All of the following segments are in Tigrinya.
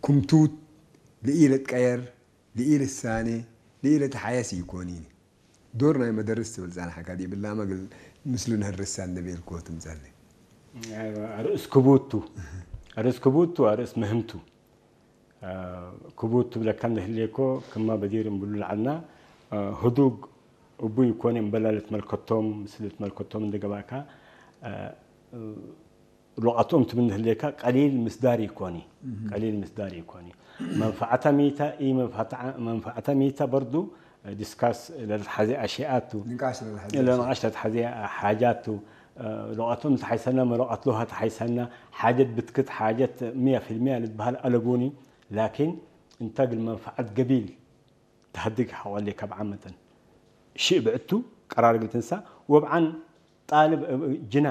ኩምቱት ልኢለ ትቀየር፣ ልኢለ ትሳነ፣ ልኢለ ተሓየስ ይኮኒኒ። ዶር ናይ መደርስ ትብል ጻንሓካ ዲብላ መግል ምስሉ ነህርሳ እንደቤልኮ ትምጸኒ። ኣርእስ ክቡቱ ኣርእስ ክቡቱ ኣርእስ ምህምቱ ክቡቱ ብለካ እንደህሌኮ ክማ በዲር እምብሉ ለዓልና ህዱግ እቡ ይኮነ እምበላ ልትመልከቶም ስለ ልትመልከቶም እንደገባካ ሎቓትኦም ትብል እንደህሌካ ቀሊል ምስዳር ይኮኒ ቀሊል ምስዳር ይኮኒ መንፈዓታ ሚታ ኢ መንፈዓታ ሚታ በርዱ ዲስካስ ለልትሓዘ ኣሽያቱ ንቃሽ ለልሓዘ ለንቃሽ ለትሓዘ ሓጃቱ ሎቓቶም ተሓይሰና መሎቓት ሎሃ ተሓይሰና ሓጀት ብትክት ሓጀት ሚያ ፊልሚያ ልትበሃል ኣለቡኒ ላኪን እንተ ግል መንፈዓት ገቢል ተሃድግ ሓቆሌ ካብ ዓመተን ሽእ ብዕቱ ቀራር ግልትንሳ ወብዓን ጣልብ ጅና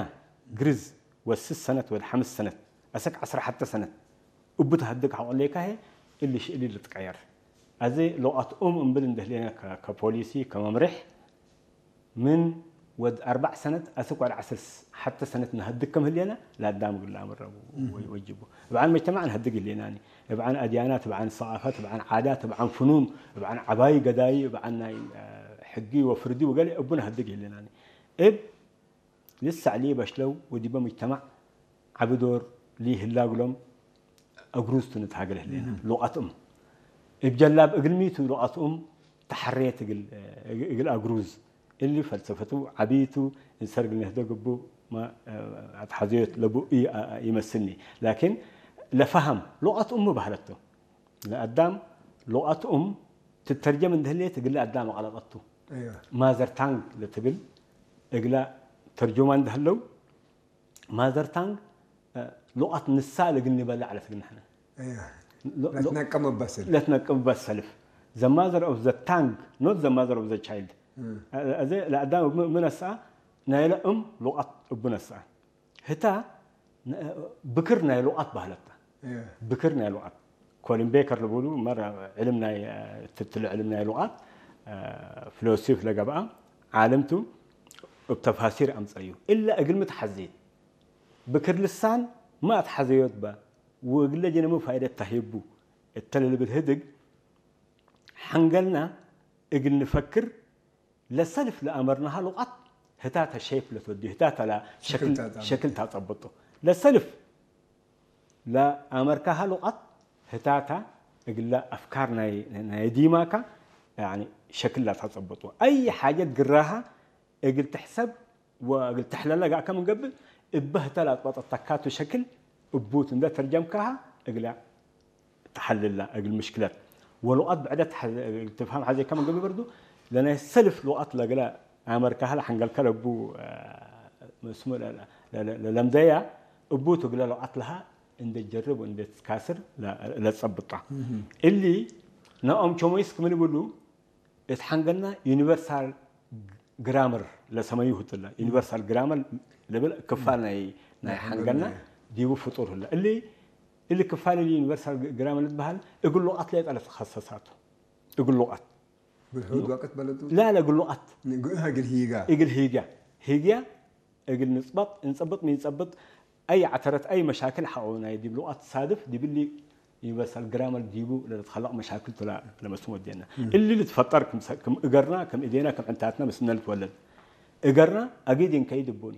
ግርዝ ወስስ ሰነት ወድ ሓምስ ሰነት ኣሰክ ዓስራ ሓተ ሰነት እቡ ተሃድግ ሓቆሌካ ሄ እሊ ሽእሊ ልትቀየር ኣዘ ሎቓት ኡም እምብል እንደህሌና ከፖሊሲ ከመምርሕ ምን ወድ ኣርባዕ ሰነት ኣስክ ወድ ዓስር ሓተ ሰነት ንሀድግ ከም ህሌና ላዳም ግላ ምረቡ ወጅቡ እብዓን መጅተማዕ ንሀድግ ህሌናኒ እብዓን ኣድያናት እብዓን ሰቓፋት እብዓን ዓዳት እብዓን ፍኑን እብዓን ዓባይ ገዳይ እብዓን ናይ ሕጊ ወፍርዲ ወገለ እቡ ንሀድግ ህሌናኒ እብ ልሳዕ ሊ በሽለው ወዲበ ሙጅተማዕ ዓቢ ዶር ሊ ህላግሎም እግሩዝቱ ንትሃገለ ህሌና ሉቃትኡም እብ ጀላብ እግል ሚቱ ሉቃትኡም ተሐሬት እግል እግል አግሩዝ እሊ ፈልሰፈቱ ዓቢቱ እንሰርግ ነህደ ግቡ አትሐዘዮት ለቡ ይመስልኒ ላኪን ለፋሃም ሉቃትኡም ባህለቶ ለአዳም ሉቃትኡም ትተርጀም እንደህሌት እግል አዳም አቀለጠቱ ايوه ማዘር ታንግ ለትብል እግላ ተርጆማ እንደህለው ማዘር ታንግ ሉቃት ንሳ ለግል ንበላ ዓለት ግን ንሕና ايوه ለትነቀመ በስል ለትነቅምበት ሰልፍ the mother of the tongue not the mother of the child እዚ ለአዳም ምነሳ ናይ ለእም ሉቃት እቡ ነሳ ህታ ብክር ናይ ሉቃት ባህለታ ايوه ብክር ናይ ሉቃት ኮሊን ቤከር ልብሉ መር ዕልም ናይ ትትል ዕልም ናይ ሉቃት ፍሎሲፍ ለገብኣ ዓለምቱ እብ ተፋሲር ኣምፀዩ እላ እግል ምትሓዘየት ብክር ልሳን ማ ኣትሓዘዮት ባ ወእግለ ጀነሙ ፋይደት ታሂቡ እተለ ልብል ህድግ ሓንገልና እግል ንፈክር ለሰልፍ ለአመርናሃ ሉቃት ህታተ ሼፕ ለትወዲ ህታተ ላ ሸክል ታጸብጦ። ሸክል ታጸብጦ ለሰልፍ ለአመርካሃ ሉቃት ህታታ እግላ አፍካር ናይ ናይ ዲማካ ያኒ ሸክል ላታጸብጦ አይ ሓጀት ግራሃ እግል ትሕሰብ ወእግል ተሕለለ ጋእከ ምን ገብእ እበ ህተ ላጥበጠተካቱ ሸክል እቡት እንደ ተርጀምካሃ እግላ ተሐልላ እግል ምሽክለት ወሉቃት ብዕደት ትፍሃም ሐዜካ ምን ገብእ በርዱ ለናይ ሰልፍ ሉቃት ለግለ አመርካሃ ለሐንገልከ ለቡ መስሙ ለለምደያ እቡት እግለ ሉቃት ለሃ እንደ ጀርብ እንደ ትካስር ለጸብጣ እሊ ነኦም ቸሞይስ ክምን ብሉ እት ሓንገልና ዩኒቨርሳል ግራመር ለሰመዩ ህትላ ዩኒቨርሳል ግራመር ለብል ክፋል ናይ ናይ ሓንገልና ዲቡ ፍጡር ህላ እሊ እሊ ክፋል እሊ ዩኒቨርሳል ግራመር ልትበሃል እግል ሉቃት ለየጠለ ተኸሰሳቱ እግል ሉቃት ብልሑድ ወቅት በለጡ ላ ለእግል ሉቃት ንግእህ እግል ሂጋ እግል ሂጋ ሂግያ እግል ንጽበጥ እንጸብጥ ሚንጸብጥ ኣይ ዓተረት ኣይ መሻክል ሓቆ ናይ ዲብ ሉቃት ሳድፍ ዲብሊ ዩኒቨርሳል ግራመር ዲቡ ለተኸለቕ መሻክል ቱላ ለመስሙ ወዲና እሊ ልትፈጠር ክም እገርና ከም እዴና ከም ዕንታትና ምስነ ልትወለድ እገርና ኣጊድ እንከይድ እቡኒ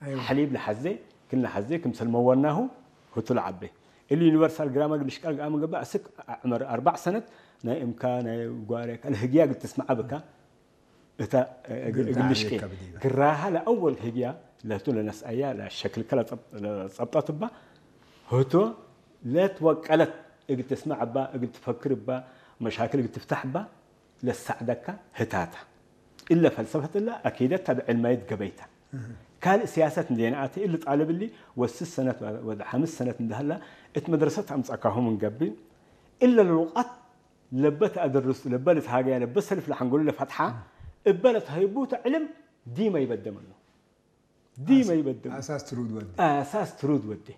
أيوة. ሓሊብ ለሓዜ ክል ለሓዜ ክምሰል መወናሁ ህቱ ለዓቤ እሊ ዩኒቨርሳል ግራመር ግልሽቃል ገኣ መገባ እስክ ዕመር ኣርባዕ ሰነት ናይ እምካ ናይ ጓሬካ ለህግያ ግል ትስምዓ ብካ እታ እግል ሽቄ ተዓብየካ ብዲባ። ግራሃ ለአወል ህግያ ለህቱ ለነስአያ ለሸክልከ ለጸብጠት እባ ህቶ ለትወቀለት እግል ትስማዕ እባ እግል ትፈክር እባ መሻክል እግል ትፍታሕ እባ ለሳዕደካ ህታታ እለ ፈልሰፈት እለ አኪደት ታብ ዕልማይት ገበይታ ካልእ ስያሰት እንዴ ነኣተ እሊ ጣልብ እሊ ወስስ ሰነት ወደ ሓምስ ሰነት እንደህላ እት መድረሰት አምጻካሁም እንገብእ እለ ልውቃት ለበ ተአደርስ ለበ ልትሃገያ ለበ ሰልፍ ለሐንጎሉ ለፈትሓ እበ ለትሀይቡ ተዕልም ዲመ ይበደመሉ ዲመ ይበደመሉ አሳስ ትሩድ ወዲ አሳስ ትሩድ ወዴ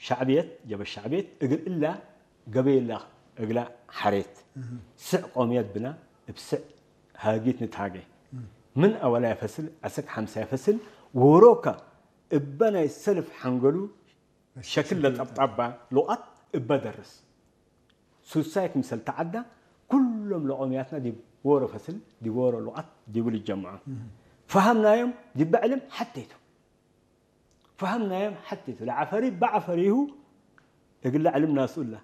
ሻዕብየት ጀበ ሻዕብየት እግል እላ ገበየላ እግላ ሐሬት ስዕ ቆምየት ብና እብ ስዕ ሃጊት ንትሃገ ምን አወላያ ፈስል አሰክ ሐምሳያ ፈስል ወሮካ እበ ናይ ሰልፍ ሐንገሉ ሸክል ለጠብጣባ ሉቃት እበ ደርስ ሱሳይ ክምሰል ተዓዳ ኩሎም ለቆምያትና ዲብ ወሮ ፈስል ዲብ ወሮ ሉቓት ዲቡ ልጀምዖ ፈሃምናዮም ዲበ ዕልም ሓተይቱ ፈሃምናዮም ሓተይቱ ለዓፈሪ በዓፈሪሁ እግለ ዕልም ናስኡላ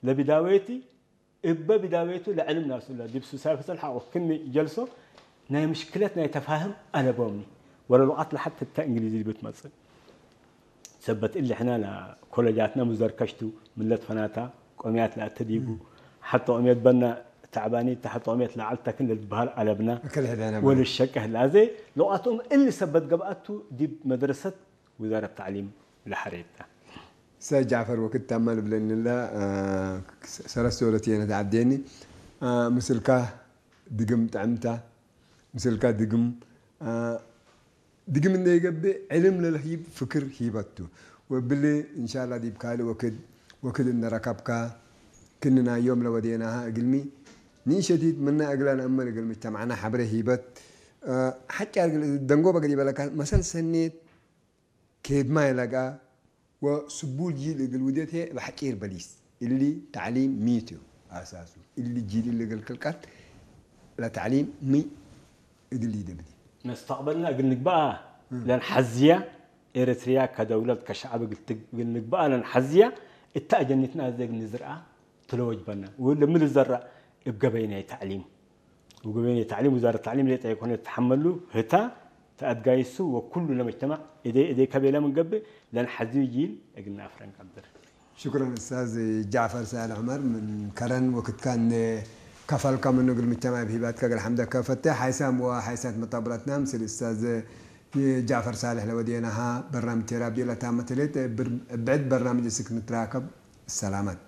ለቢዳወይቲ እበ ቢዳወይቱ ለዕልም ናስኡላ ዲብ ሱሳይ ፈስል ሓቆ ክኒ ጀልሶ ናይ ምሽክለት ናይ ተፋህም ኣለቦምኒ ወረ ሉቓት ለሓተታ እንግሊዝ ዲቡ ትመጽእ ሰበት እሊ ሕና ኮለጃትና ሙዘርከሽቱ ምለት ፈናታ ቆምያት ለኣተዲቡ ሓቶ ቆምየት በና ተዕባኒ ተሓቶ ቆምየት ለዓልታ ክን ለልትበሃል ኣለብና እክል ሕደነ ወልሸቀ ህላዘ ለቋትኦም እሊ ሰበት ገብኣቱ ዲብ መድረሰት ውዛረት ተዕሊም ለሐሬታ ሰ ጃፈር ወክድ ታማ ልብለኒ ላ ሰለስተ ወለት የነ ተዓብደኒ ምስልካ ድግም ጥዕምታ ምስልካ ድግም ድግም እንደ ይገብእ ዕልም ለልሂብ ፍክር ሂበቱ ወብሊ እንሻላ ዲብ ካልእ ወክድ ወክድ እንደረከብካ ክንናዮም ለወዴናሃ እግልሚ ንእሸቲት ምና እግላ ነእመል እግል ምጅተማዕና ሐብረ ሂበት ሐጫ እግል ደንጎበ ገዲበለካ መሰል ሰኔት ኬድማ ይለጋ ወስቡል ጂል እግል ውደት ሄ በሐጪር በሊስ እሊ ተዕሊም ሚት እዩ ኣሳሱ እሊ ጂል እሊ እግል ክልቀት ለተዕሊም ሚ እግል ይደብዲ መስተቅበልና እግል ንግባኣ ለንሐዝያ ኤርትርያ ከደውለት ከሸዓብ እግል ንግባኣ ለንሐዝያ እታ ኣጀኒትና እዘ እግል ንዝርኣ ትለወጅበና ለሚ ልዘራ እብ ገበይ ናይ ተዕሊም ወገበይን ተዕሊም ውዛረት ተዕሊም ሌጣ የኮነ ተሓመሉ ህታ ተኣድጋይሱ ወኩሉ ለመጅተማዕ እደይ እደይ ከቤለ ምንገብእ ለንሐዝዩ ጂል እግልና ኣፍረን ቀብር ሽኩረን እስታዝ ጃዕፈር ሳል ዑመር ምን ከረን ወክትካ እንደ ከፈልካ ምኑ እግል ምጅተማዕ ብሂባትካ እግል ሓምደካ ፈተ ሓይሳም ወሓይሳት መጣብራትና ምስል እስታዝ ጃዕፈር ሳልሕ ለወዴናሃ በርናምጅ ቴራቢ ለታመተሌት ብዕድ በርናምጅ እስክ ንትራከብ ሰላማት